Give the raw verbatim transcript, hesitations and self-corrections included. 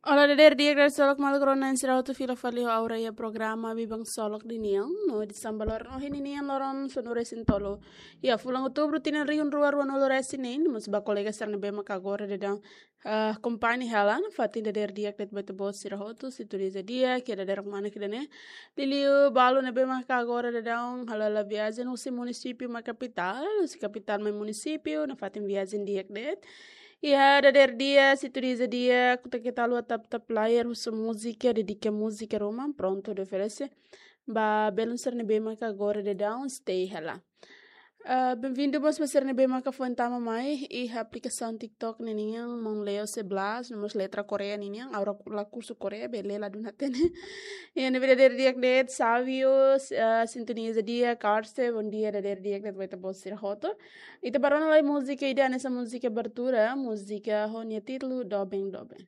Olá, dader di'ak, dader solok maluk rona sira hotu fila fali ho Aura iha programa Biban Solok ninian, no edisaun ba loron ohin ninian, loron sanulu-resin-tolu iha fulan Outubru tinan rihun rua ruanulu-resin-neen, mós ba kolega sira ne'ebé maka agora daudaun, ah, akompaña hela nafatin. Dader di'ak de'it ba ita-boot sira hotu, sintoniza di'ak, iha dadeer ruma ne'e ida-ne'e. Liuliu balu ne'ebé maka agora daudaun hala'o viajen husi munisípiu mai kapitál, husi kapitál mai munisípiu, nafatin viajen di'ak de'it. Iha dadeer di'ak, sintoniza di'ak, kuta keta haluha tap-tap layar, husu múzika, dedika múzika ruma, prontu hodi oferese ba belun sira ne'ebé maka agora daudaun stay hela. Ah, benvindu mós ba sira ne'ebé maka foin tama mai iha aplikasaun TikTok ninian, maun Leo Seblas, no mós letra Korea ninian, Aura la kursu Korea, bele ladún hatene. Iha ne'ebé dader di'ak de'it, Savio, ah, sintoniza di'ak, Karse, bondia, dader di'ak de'it ba ita-boot sira hotu. Ita bá rona lai múzika ida, hanesan múzika abertura, múzika ho nia títulu Doben Doben.